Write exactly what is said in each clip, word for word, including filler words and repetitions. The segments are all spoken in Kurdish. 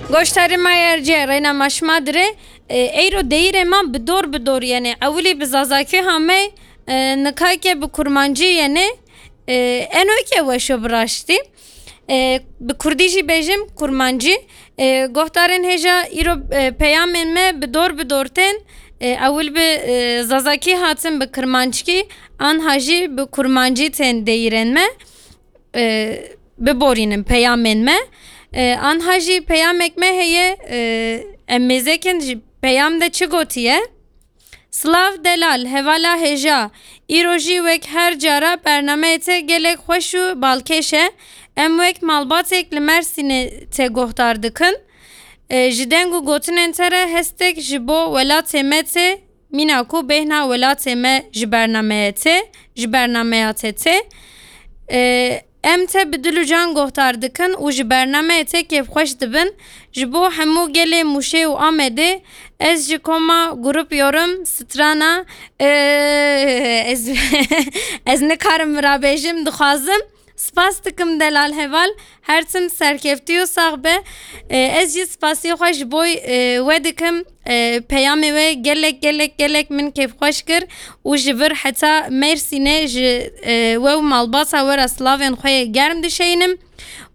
Goştarê me yer cê reyna ma şima dire, e, eyro deyîrê ma bi dor bi dor yenê. Ewilî bi zazakî hamey, e, nikayke bi kurmancî yenê. E, eno ke weşo bi raştî. E, bi kurdî jî bêjim kurmancî. E, gohdarên hêja îro, e, peyamên me bi dor bi dor tên. E, ewil bi, e, zazakî hatin bi kirmanckî, anha jî bi kurmancî tên deyîrên me. E, biborînin peyamên me. E, anha jî peyamek me heye, e, em mêzekin ji peyam de çi gotiye? Silav delal, hevala hêja. Îro jî wek her cara bernameyê te gelek xweş û balkêş e. Em wek malbatêk li Mersînê te gohdar dikin. E, ji deng û gotinên te re hestek ji bo welatê me tê. Mîna ku bêhna welatê me ji bernameyê tê, ji bernameya te tê. E, em te bi dil û can gohdar dikin û ji bernameyê te kêfxweş dibin. Ji bo hemû gelê Mûşê û Amedê ez ji koma Grup Yorum Strana, e, ez, ez nikarim vira bêjim, dixwazim. Spas dikim delal heval, her tim serkeftî û sax be. E, ez jî spasiyê xwe ji bo, e, we dikim. E, peyamê we gelek, gelek, gelek min kêfxweş kir û ji vir heta Mersînê ji, e, we û malbata we re silavên xwe yê germ dişeynim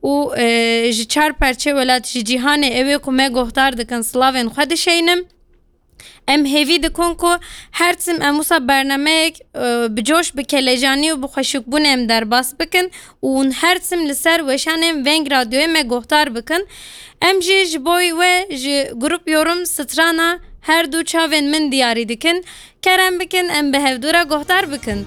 û, e, ji çar perçê welat, ji cîhanê ewê ku me gohdar dikin silavên xwe dişeynim. Em hêvî dikin ku her tim em wisa bernameyek, e, bi coş, bi kelecanî û bi xweşikbûnê em derbas bikin û hûn her tim li ser weşanên Veng Radyoyê me gohdar bikin. Em jî ji bo we ji Grup Yorum Strana her du çavên min diyarî dikin. Kerem bikin em bi hevdû re gohdar bikin.